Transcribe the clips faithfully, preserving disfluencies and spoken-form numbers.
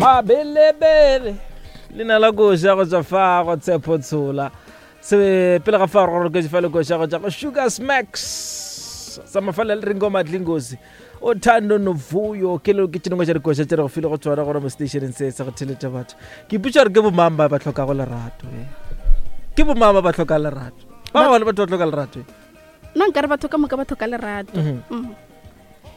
Mabelebele leina la koša go tswa fa go Tshepo Tshola. Se pele ga fa gore ke fa le koša go tswa go Sugar Smacks sa mafala le Ringo Madlingozi Uthando Novuyo ke le ke tšengwe tša dikoša tše re go file go tswana gore mo stationeng se sa go theletša batho. Ke ipotša gore ke bomang ba ba hlokago lerato eh? Ke bomang ba ba hlokang lerato? Ba bangwe batho ba hloka lerato eh? Nna nkare batho ka moka ba tlhoka lerato. Mhm. Mm.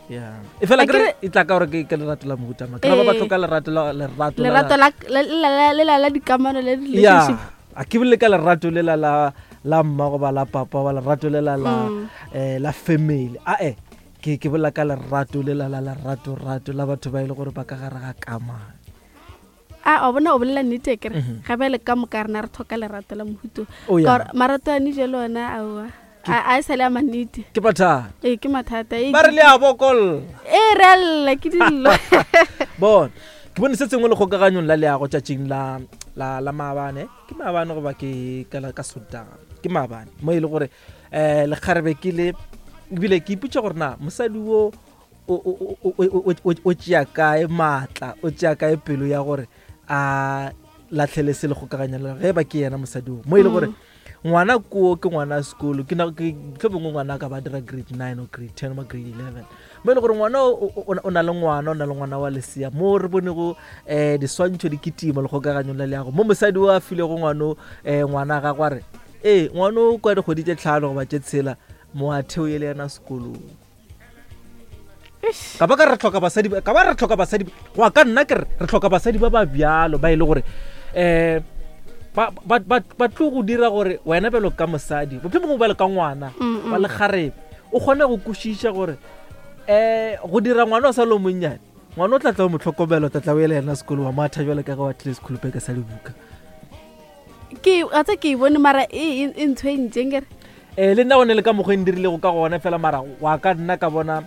Yeah. E fela A kere kere- e tla ka gore ke ke lerato la mohuta mang. Ke ba ba Ee. hloka lerato la lerato la- Lerato la la- la la- lela la dikamano le ya relationship. a ke bolele ka lerato lela la la mma goba la papa goba lerato lela la Mm. eh, la family ae ke ke bolela ka lerato lela la lerato rato la batho ba e le gore ba ka gare ga kamano. A o bona o bolela nnete kere Mhm. ga bjale ka moka rena re tlhoka lerato la mohuto. Oh, ya. Ka gore marato a ne jalo ona aowa. A a e sale a mannete. Ke mathata. Ee ke mathata. Ee, Ba re ke- le a bokolla. Ee re a lla ke dillo. Bona ke bone se sengwe le kgokaganyong la leago tšatšing la la la maabane, ke maabane goba ke ka la- ka Sontaga, ke maabane mo e le gore um lekgarebe ke le ebile ke ipotša gore na mosadi wo o- o- o- o- o- o- o tšea kae maatla, o tšea kae pelo ya gore a latlhele se le kgokaganya le ge ba ke yena mosadi wo mo e le gore ngwana koo ke ngwana a sekolo, ke na- ke mohlomongwe ngwana a ka ba dira grade nine or grade ten or grade eleven, mo e le gore ngwana o, o, o, o na le ngwana, o na le ngwana wa lesea mo re bonego um diswantšho di kitima le kgokaganyong la leago mo mosadi o a filego ngwano um ngwana a gagwe a re ee ngwana o kwa dikgwedi tše tlhano goba tše tshela moatheo e le yena sekolong. Eish. Ka ba ka re hloka basadi ba-, ka ba re hloka basadi ba-, go ya ka nna ke re re hloka basadi ba ba bjalo ba e le gore um ba, ba, ba, ba tlo go dira gore wena bjalo ka mosadi, mohlomongwe bjalo ka ngwana Mm, mm. wa lekgarebe, o kgone go kwešiša gore um go dira ngwana o sa le o monnyane, ngwana o tla tla o mo tlhokomela, o tla tla o ele yena sekolo wa matha bjalo ka ge wa tlile sekholopeke sa dibuka. Ke a tsa ke e bone mara e e- e ntshwentseng kere. um le nna gone le ka mokgwa e ndirilego ka gona fela mara wa ka nna ka bona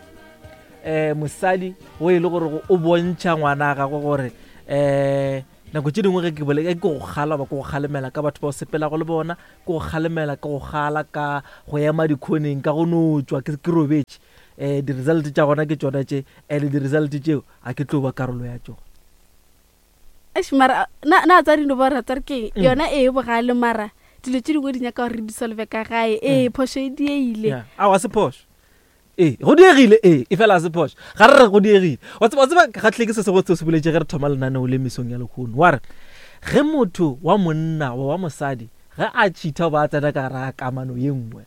um mosadi o e le gore o bontšha ngwana a gagwe gore um nako tše dingwe ge ke bole ke go kgala ba ke go kgalemela ka batho ba o sepelago le bona, ke go kgalemela ke go kgala ka go ema dikhoneng ka go no tšwa ke ke robetše, um di-result tša gona ke tšona tše, and di-result tšeo a ke tlo ba karolo ya tšona. Eish, mara na na tsa dino ba re tsa re ke Mm. yona e bogale mara dilo tše dingwe di nyaka gore re di solve ka gae. Ee Mm. phošo e dieile. Yeah. Ao, a se phošo. Ee, go diegile, ee, e fela a se phošo. Ga re re go diegile. Wa tseba, wa tseba ke kgahlile ke se sengwe seo se boletše ge re thoma lenaneo le mesong ya lehono. Wa re, ge motho wa monna goba wa mosadi ge a cheat-a goba a tsena ka gare ga kamano ye nngwe,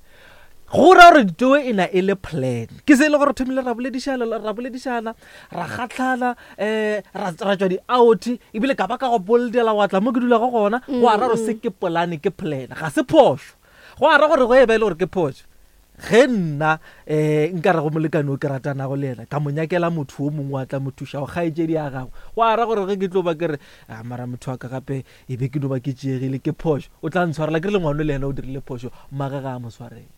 go ra gore ditoe e na e le plan. Ke se e le gore re thomile ra boledišana, ra boledišana, ra kgahlana, um ra, ra tšwa di-out, ebile ka ba ka go boldela wa tla mo ke dulago gona, go a ra gore se ke polane, ke plan, ga se phošo. Go a ra gore go e ba e le gore ke phošo. Ge nna um nka re go molekane o ke ratanago le yena, ka mo nyakela motho o mongwe a tla mo thuša go kgaetšedi ya gagwe, go a ra gore ge ke tlo ba ke re, ah, mara motho wa ka gape e be ke no ba ke tšeegile, ke phošo, o tla ntshwarela. Ke re le ngwano le yena o dirile phošo, mmagwe ga a mo swarele.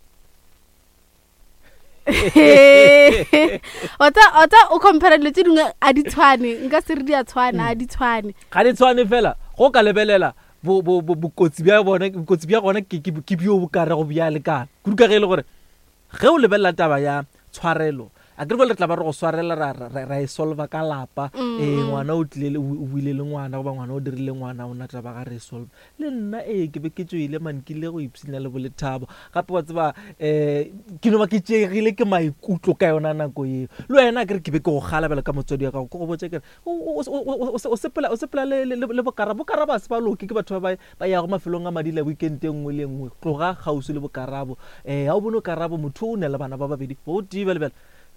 Wa tsa, wa tsa o compare dilo tše dingwe a di tshwane, nka se re di a tshwana, a di tshwane. Ga di tshwane fela, go ka lebelela bo, bo, bo, bokotsi bja bona, bokotsi bja gona ke, ke, ke bjo bo ka rego bja lekana. Kudu ka ge e le gore ge o lebelela taba ya tshwarelo, a ke re bjale re tla ba re go swarela, ra, ra, ra, ra e solva ka lapa. Mm, Ee, mm. ngwana o tlile le, o buile le ngwana goba ngwana o dirile ngwana, o na taba ga re e solve. Le nna ee, ke be ke tšoile man, ke ile go ipshina le bolethabo. Gape wa tseba, um ke no ba ke tšeegile ke maikutlo ka yona nako eo. Le wena a ke re ke be ke go kgala bjalo ka motswadi wa gago, ke go botša ke re, o, o, o, o, o, o sepela, o sepela le, le, le, le bokarabo. Bokarabo ha se ba loke, ke batho ba ba, ba yago mafelong a madila weekend e nngwe le e nngwe. Tloga kgauswi le bokarabo. Eh, ha o bone karabo, motho o ne le bana ba babedi, bo tee bjale bjale.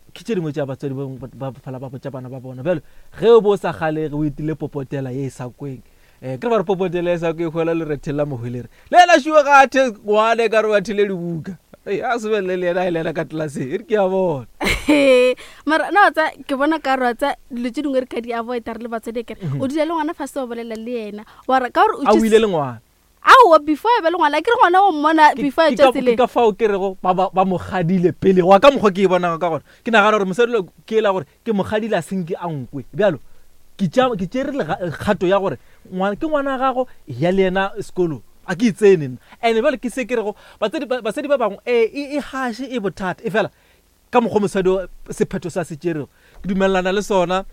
Ke tše dingwe tša batswadi ba bangwe ba, ba fela ba botša bana ba bona. Bjale, ge o bo sa kgalege, o itile popotela ye e sa kweng. Eh, ke re ba re popotela ye e sa kweng, hwela lerethe la mohwelere. Le yena šuwe ga a the ngwana e ka re ba thele dibuka. Ei, a se belle le yena a e lela ka tlelaseng, e re ke a bona. Mara na wa tsa ke bona ka re wa tsa dilo tše dingwe re ka di avoid-a re le batswadi akere. Mhm. O dula le ngwana fase o bolela le yena. Wa re ka gore o A o tšwe ile le ngwana. Aowa, before e be le ngwana, ke re ngwana o mmona Ke- before e ke tšwa ka- tseleng. ke ka fao ke rego ba, ba, ba mo kgadile pele. Go ya ka mokgwa ke e bonago ka gona, ke nagana gore mosadi lo ke ela gore ke mo kgadile a senke a nkwe. Bjalo, ke tša-, ke tšere lega-, kgato ya gore ngwana, ke ngwana wa gago, ya le yena sekolong. A ke itsene nna. And bjale ke se ke rego, batswadi ba, basadi ba bangwe, ee, e, e haše, e bothata. E fela, ka mokgwa mosadi o sephetho sa se tšerego, ke dumellana le sona.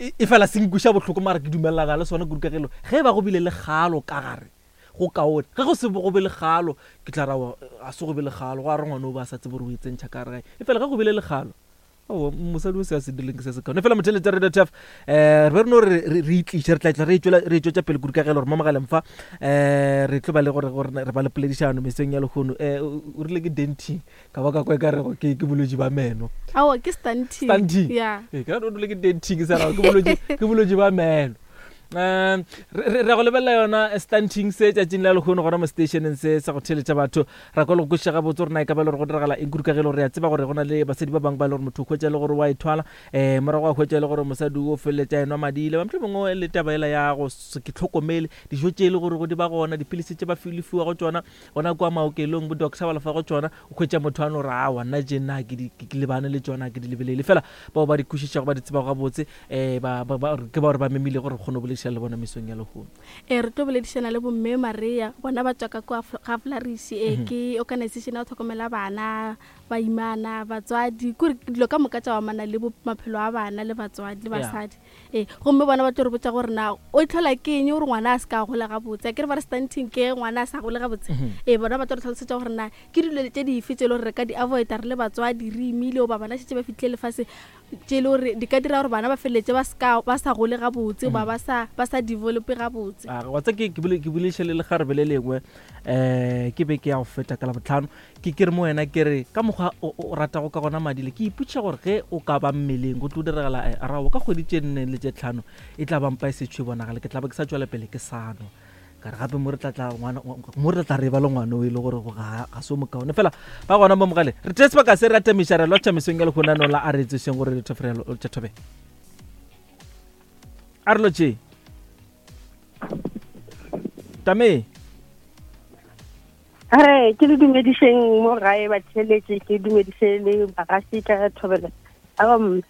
E e fela se nkweša bohloko, mara ke dumelelana le sona kudu ka gelo ge ba go bile le kgalo ka gare go kaone. Ge go se go be le kgalo, ke tla ra a se go be le kgalo, go a re ngwana o ba sa tsebe gore o e tsentšha ka gare gae. E fela ge go bile le kgalo, aowa, mosadi o se a se dirileng ke se se kaone. Fela motheletša Radio T F, um re be re no re re itliše, re tla tla re e tšwetša pele kudu ka gelo gore mo mogaleng fa um re tlo ba le gore gore re ba le poledišano mesong ya lehono. Um o rile ke denting, ka ba ka kwa e ka rego ke ke bolwetši ba meno. Aowa, ke stunting. Stunting. Ya. Ee, ke o rile ke denting, ke sa ke bolwetši ke bolwetši ba meno. Um re re go lebelela yona stunting se tšatšing la lehono gona mo stationeng se sa go theletša batho, ra kwa le go kwešiša gabotse gore na e ka ba le gore go diragala eng kudu ka ge le gore re a tseba gore go na le basadi ba bangwe ba e le gore motho o hwetša le gore wa ithwala, um morago a hwetša e le gore mosadi o feleletša enwa madile ba mohlomongwe le taba ela ya go se ke tlhokomele dijo tše e le gore go di ba gona, dipilisi tše ba fiwa go tšona gona kua maokelong, bo doctor ba lefa go tšona, o hwetša motho a no re aowa nna tše nna ke di ke lebane le tšona, ke di lebelele fela. Bao ba di kwešišago ba di tsebago gabotse um ba ke ba gore ba memile gore re kgone go boledišana le bona mesong ya lehono. Ee, re tlo boledišana le bomme Maria, bona ba tswa ka kwa ga Flourish, e ke organization ya go tlhokomela bana, baimana, batswadi, kore dilo ka moka tša go amana le maphelo a bana le batswadi le basadi. Ee, gomme bona ba tlo re botša gore na o itlhola ke eng gore ngwana a se ka gola gabotse. A ke re ba re stunting ke ngwana a sa gole gabotse. Ee, bona ba tlo re tlhalosetša gore na ke dilo tše dife tše e le gore re ka di avoida re le batswadi re imile, goba bana šetše ba fihlile lefase, tše e le gore di ka dira gore bana ba feleletse ba ska ba sa gole gabotse, goba ba sa ba sa develope gabotse. A wa tsa ke ke bolediša le lekgarebe le lengwe um ke be ke ya go feta ka Labohlano, ke ke re mo wena ke re ka mokgwa o ratago ka gona madile, ke ipotšiša gore ge o ka ba mmeleng go tlo diragala rao ka kgwedi tše nne le tše tlhano e tla ba mpa e setšho e bonagale, ke tla ba ke sa tšwela pele ke sa nwa. Ka re gape mo re tla tla ngwana mo re tla re ba le ngwana o e le gore ga ga se o mokaone fela ba gona mo mogale. Re tee sebaka se re atamiša re lotšha mesong ya lehono la a re tsešeng gore re thofere tša thobe a re lotše tame. Re ke le dumedišeng mo gae batheletše, ke dumediše le bagaši ka Thobela um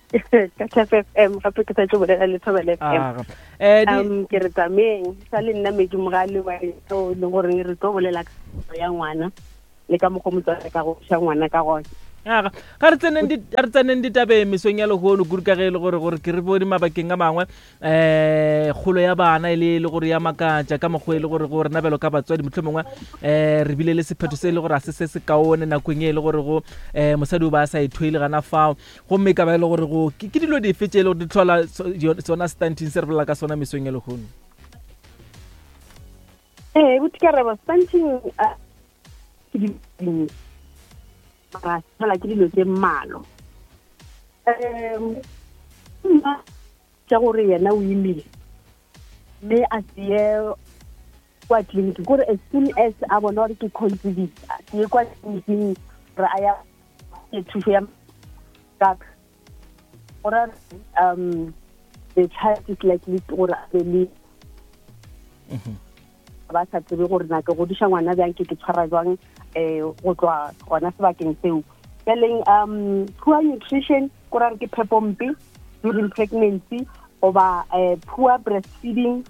ka T F M, gape ke sa tlo bolela le Thobela F M. Um ke re tsameng sa le nna Medi Mogale wa o le gore re tlo bolela ka ya ngwana le ka mokgwa motswadi ka go ša ngwana ka gona. Aga ga re tseneng di re tseneng ditabeng mesong ya lehono kudu ka ge e le gore gore ke re bone mabakeng a mangwe um kgolo ya bana e le le gore ya makatša ka mokgwa e le gore go rena bjalo ka batswadi mohlomongwe um re bile le sephetho se e le gore a se se se kaone nakong e le gore go um mosadi o ba a sa ithwele gana fao, gomme e ka ba e le gore go ke dilo dife tše e le gore di tlhola sona stunting se re bolela ka sona mesong ya lehono. Ee, botikarabo stunting ke di mara fela ke dilo tše mmalo. Um mma tša gore yena o imile mme a se ye kwa tleliniking, kore as soon as a bona gore ke conceived a se ye kwa tleliniking gore a ya thušo ya ka gore um the child is likely gore a be le ba sa tsebe gore na ke godiša ngwana bjang, ke ke tshwara jwang um go tloa gona sebakeng seo. Bjaleng um poor nutrition ko ra re ke phepompe during pregnancy, goba um poor breastfeeding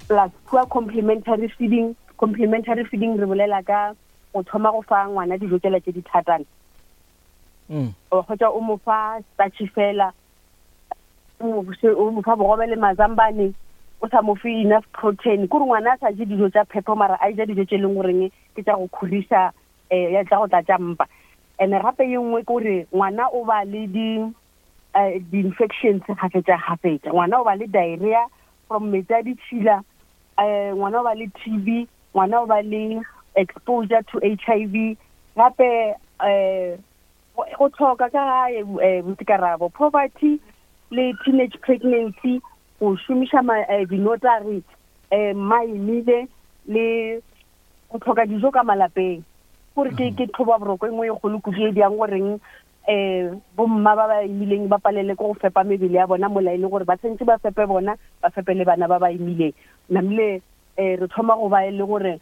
plus poor complementary feeding. Complementary feeding re bolela ka go thoma go fa ngwana dijo tsela tše di thatana, o kgotsa o mo fa starch fela, o mo fa bogobe le mazambane, o sa mo fe enough protein, kore ngwana a sa je dijo tša phepo mara a ja dijo tše leng goreng ke tša go khorisa um ya tša go tlatša mpa. And gape ye nngwe ke gore ngwana o ba le di di-infections gafetša gafetša, ngwana o ba le diarrhea from metsi a ditšhila, um ngwana o ba le T B, ngwana o ba le exposure to H I V, gape um go tlhoka ka gae botikarabo, poverty le teenage pregnancy, go šomiša dinotagi um maimile le go tlhoka dijo ka malapeng. Gore ke ke tlhoba boroko e nngwe e kgolo kudu e diang goreng um bomma ba ba imileng ba palele ke go fepa mebele ya bona mola e le gore ba tshwanetse ba fepe bona, ba fepe le bana ba ba imileng. Namile um re thoma go ba e le gore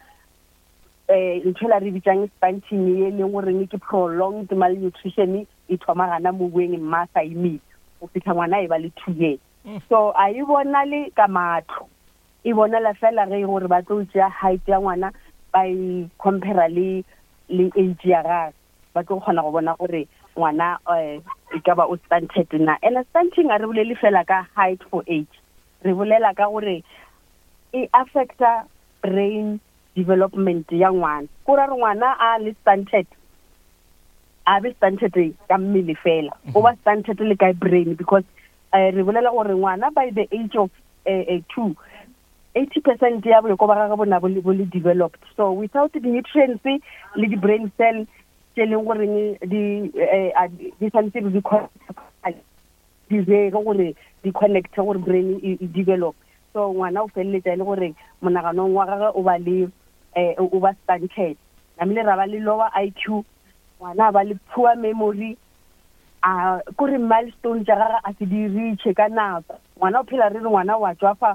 um ntho ela re bitsang stunting e leng goreng ke prolonged malnutrition e thoma gana mo boeng mma a sa imile go fitlha ngwana e ba le two years. So a e bonale ka matlho, e bonala fela ge gore ba tlo tšea height ya ngwana ba e compare le le age ya gagwe, ba tlo kgona go bona gore ngwana um e ka ba o stunted na. And stunting a re bolele fela ka height for age, re bolela ka gore e affecta brain development ya ngwana. Ko ra re ngwana a le stunted, a be stunted ka mmele fela, o ba stunted le ka brain, because uh, re bolela gore ngwana by the age of uh, uh, two, eighty percent ya boko ba gagwe bona bo le developed. So without the nutrients le di brain cell tse leng goreng di di santse di di re gore di connect gore brain e develop. So ngwana o feleletsa e le gore monaganong wa gagwe o ba le o ba stunted, namile ra ba le lower I Q, ngwana ba le poor memory, a kore milestone tsa gagwe a se di reach ka nako. Ngwana o phela re re ngwana wa tswafa,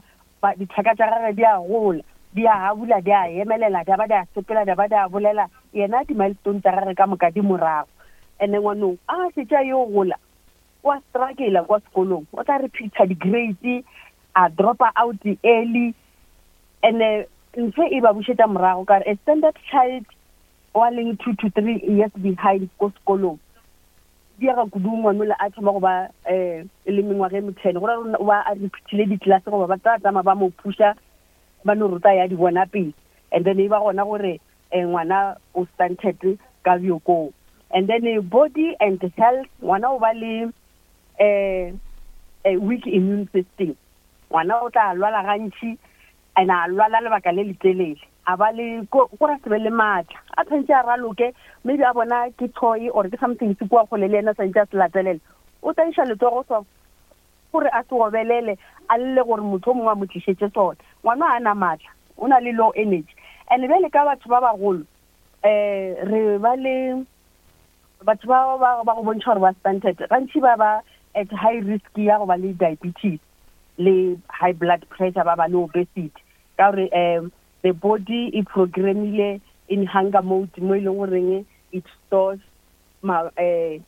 ditlhaka tsa gagwe di a gola, di a habula, di a emelela, di a ba di a sepela, di a ba di a bolela, yena di-milestone tsa gagwe ka moka di morago. And ngwanong a setša yo gola, wa struggle kwa sekolong, o tla repeat-a di-grades, a dropa out early, and ntho e ba bušetša morago ka a standard child wa leng two to three years behind ko sekolong. Di ya ga kudu ngwanola a thoma go ba um le mengwaga e methene, go ra ba a repeatile di-class goba ba tla tsamaya ba mo pusha, ba no ruta ya di bona pele. And then e ba gona gore ngwana o stunted ka bjokong. And then body and health, ngwana o ba le um weak immune system. Ngwana o tla lwala gantši, and a lwala lebaka le letelele, a ba le ko ra se be le maatla, a tshwanetse a raloke, maybe a bona ke toy or ke something se kua kgole le yena tshwanetse a se latelele, o tla iša letsogo so gore a se obelele, a lle gore motho o mongwe a mo tlišetše sona. Ngwana a na maatla, o na le low energy. And bjale ka batho ba bagolo, um re ba le batho ba ba go bontšha gore ba stunted, gantši ba ba at high risk ya go ba le diabetes le high blood pressure, ba ba le obesity, ka gore um the body e programmile in hunger mode, mo e leng goreng it stores ma eh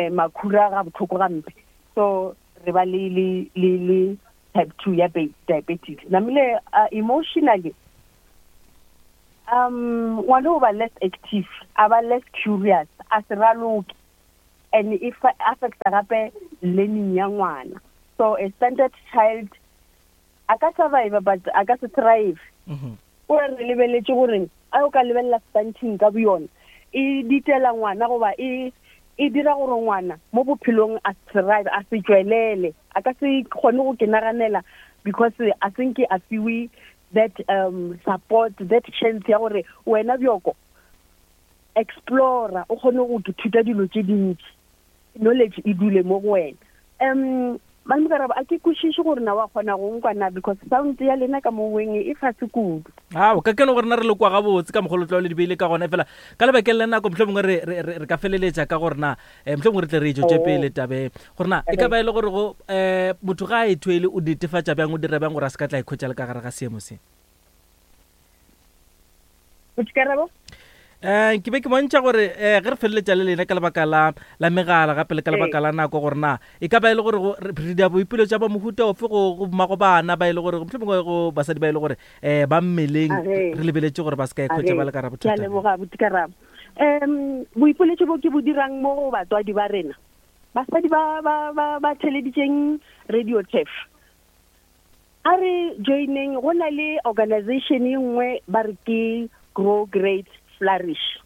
makhura ga botlhoko gampe. So re ba le le le le type two ya diabetes. Namile uh, emotionally, um ngwana o ba less active, a ba less curious, a se raloke, and if affecta gape learning ya ngwana. So a standard child a ka survive but a ka se thrive. O re lebeletse gore a o ka lebelela stunting ka boyona, e ditela ngwana goba e e dira gore ngwana mo bophelong a thrive, a se tswelele, a ka se kgone go kenaganela, because a senke a fiwe that um support, that chance ya gore wena bjoko explore, o kgone go ithuta dilo tse dintsi, knowledge e dule mo go wena. Um Malome a ke kwešiše gore na wa kgona go nkwana, because sound ya lena ka moweng e fase kudu. Ao ka keno gore na re le kwa gabotse ka mogolo tlo le dibeile ka gona, fela ka lebakeng la nako mohlomongwe re re ka feleletša ka gore na mohlomongwe re tle re e tšwetše pele tabe gore na e ka ba e le gore go um motho ga a e thwele o netefatša bjang, o dira bjang gore a se ka tla ikhwetša le ka gare ga seemo se. Boikarabo? Eh ke be ke bontšha gore eh ge re feleletša le lena ka lebaka la la megala gape le ka lebaka la nako gore na e ka ba e le gore re dia boipelo tša ba mohuta ofe go go mmago bana ba e le gore mohlomongwe go basadi ba e le gore eh ba mmeleng, re lebeletše gore ba se ka ikhwetša ba le ka bothata. Ke a leboga boikarabo. Um boipoletšo bo ke bo dirang mo go batswadi ba rena, basadi ba ba ba ba theleditšeng Radio Turf, a re joineng, go na le organization e nngwe ba re ke Grow Great Flourish.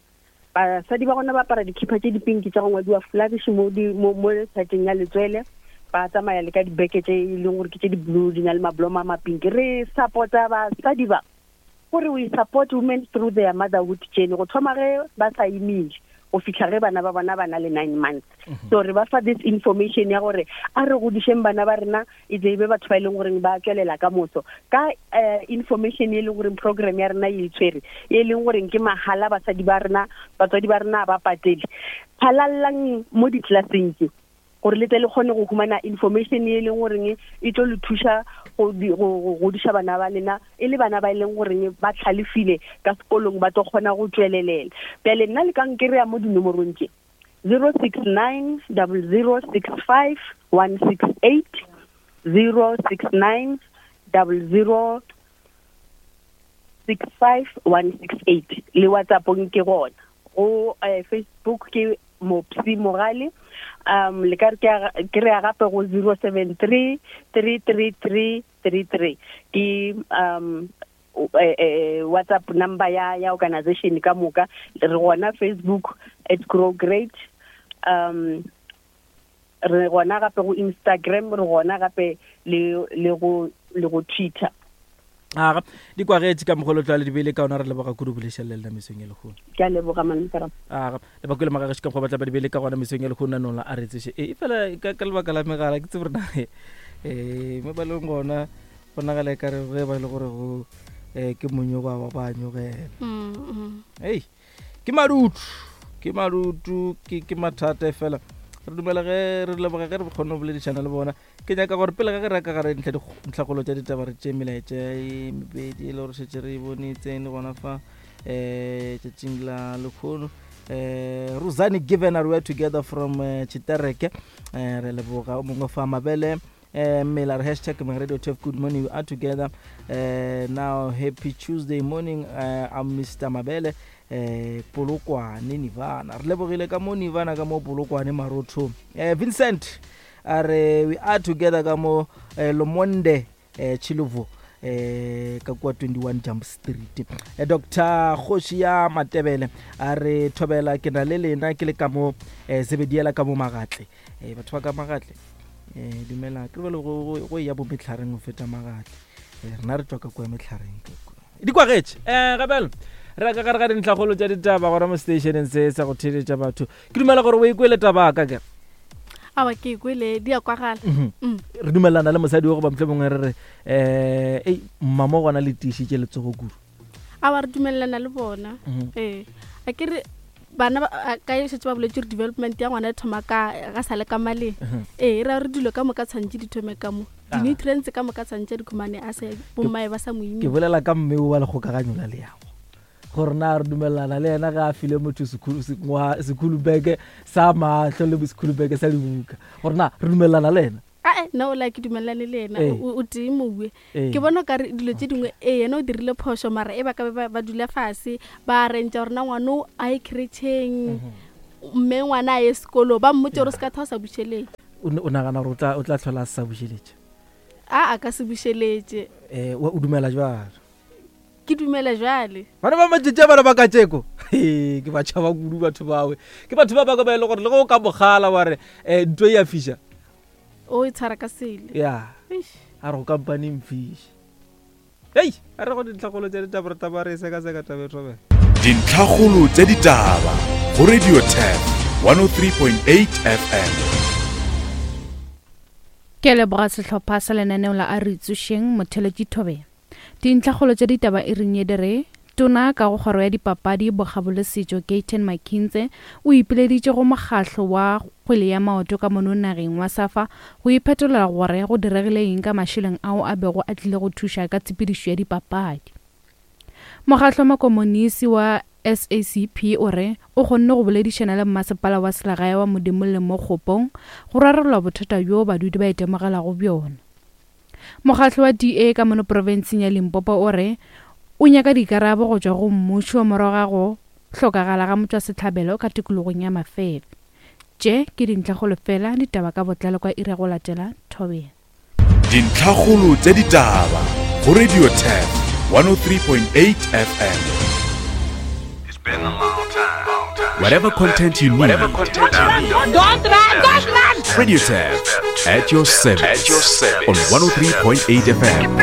Basadi ba gona ba apara dikhipa tše dipinki tša go ngwadiwa Flourish mo di mo mo letšatšing ya letswele, ba tsamaya le ka dibeke tše e leng gore ke tše di-blue, di na le mablomo a mapinki. Re support-a basadi ba gore we support women through their motherhood journey, go thoma ge ba sa imile go fihla ge bana ba bona ba na le nine months. So re ba fa this information ya gore a re godišeng bana ba rena e tle e be batho ba e leng goreng ba tswelela ka moso ka information e leng goreng program ya rena e tshwere, e leng goreng ke mahala, basadi ba rena, batswadi ba rena ba patele. Phalallang mo di-classeng tse gore le tle le kgone go humana information e leng goreng e tlo le thuša go godiša bana ba lena e le bana ba e leng goreng ba tlhalefile ka sekolong, ba tlo kgona go tswelelela. Bjale nna le ka nkereya mo dinomorong tše zero six nine double zero six five one six eight, zero six nine double zero six five one six eight, le WhatsApp-ong ke gona, go Facebook ke Mopsi Mogale. Um le ka re ke re gape go zero seven three three three three three three ke um eh, WhatsApp number ya ya organization ka moka. Re gona Facebook at Grow Great, um re gona gape go Instagram, re gona gape le le go le go Twitter. Aga di kwagetše ka mogolo tlwa le dibele ka ona re leboga kudu bolešela le mesong e lekgono. Ke a leboga malome. Aga le bakule magagetše ka go batla ba dibele ka gona mesong e lekgono nong la a re tseše. E fela ka ka lebaka la megala ke tsebe rena eh mo ba leng gona bonagala e ka re ge ba le gore go eh ke monyogo wa ba nyogela. Mm. Hey ke madutu ke madutu ke ke mathata fela. Re dumela ge re leboga ge re kgone go boledišana le bona. Ke nyaka gore pele ga ge re ka gare ntlha dintlhakgolo tša ditaba re tše melaetša e mebedi e le gore šetše re e bone tsene gona fa um tšatšing la lekgono. Um Rosane Given are we together from Chitereke. Um re leboga o mongwe fa Mabele um Mela re hashtag Radio T F good morning, we are together. Uh, now happy Tuesday morning. uh, I'm Mister Mabele eh Polokwane Nivana. Re lebogile ka mo Nivana ka mo Polokwane Marotho. Eh Vincent a re we are together ka mo eh, Lomonde eh Chiluvo eh ka kwa twenty-one Jump Street. Eh, Doctor Kgoshi ya Matebele a re thobela ke na le lena ke le ka mo eh, Zebediela ka mo Magatle. Eh batho ba ka Magatle eh dumela ke re go go ya bo metlhareng go feta Magatle. Eh rena re tswa ka kwa metlhareng ka kwa. Di kwagetše eh gabelo re ka gare ga dintlhakgolo tša ditaba gona mo stationeng se sa go theeletša batho. Ke dumela gore o ikwele taba ka ke awa ke ikwele di a kwagala. Re dumelana le mosadi wa go ba mohlomongwe re re eh ei mmamo gona le tiišitše letsogo kudu. Awa re dumelana le bona. Eh a ke re bana ka e šetše ba boletse gore development ya ngwana e thoma ka ga sa le ka maleng. Eh re re dilo ka moka tshwantše di thome ka mo di-nutrients ka moka tshwantše di khumane a se bommae ba sa moimi. Ke bolela ka mme wa lekgokaganyo la leago gore na re dumelana le yena ga a file motho sekhulubeke sa mahlo le sekhulubeke sa dibuka gore na re dumelana le yena. Ae nna o la ke dumelane le yena o tee moue. Ke bona ka re dilo tše dingwe e yena o dirile phošo mara e ba ka ba dula fase ba arrangea gore na ngwana o a ye creche-eng mme ngwana a ye sekolo ba mmotse gore o se ka tha o sa bušeleng. O nagana gore o tla tlhola a sa bušeletše? A a ka se bušeletše. Eh o dumela jwalo? Ke dumela jwale. Bana ba matšatši a bana ba katšeko ke ba tšhaba kudu batho bawe. Ke batho ba bangwe ba e le gore le ge o ka mogala wa re um ntho e ya fiša o e tshwara ka sele. Ya a re go kampane mfiše. Hei a re go dintlhakgolo tša ditaba re taba re e sekaseka taba e thobela. Dintlhakgolo tša ditaba go Radio T F one oh three point eight F M. Ke leboga sehlopha sa lenaneo la a re tsošeng motheletši Thobela. Dintlhakgolo tša ditaba e reng e re tona ka go kgoro ya dipapadi bokgabo le setšo Gayton McKenzie o ipileditše go mokgahlo wa kgwele ya maoto ka mono nageng wa SAFA go iphetolela gore go diregile eng ka mašeleng ao a bego a tlile go thuša ka tshepedišo ya dipapadi. Mokgahlo wa makomonisi wa S A C P o re o kgonne go boledišana le mmasepala wa selegae wa Modimolle mo Kgopong go rarolla bothata bjo badudi ba itemogelago bjona. Mokgahlo wa D A ka mono profenseng ya Limpopo o re o nyaka dikarabo go tšwa go mmušo morago ga go hlokagala ga motšwasehlabelo ka tikologong ya Mafefe. Tše ke dintlhakgolo fela ditaba ka botlalo kwa iri ya go latela Thobela. Dintlhakgolo tša ditaba go Radio T F one oh three point eight F M. Whatever content you need. Whatever content you need. Don't run, don't run. Radio T F at your service. At your service. On one oh three point eight F M.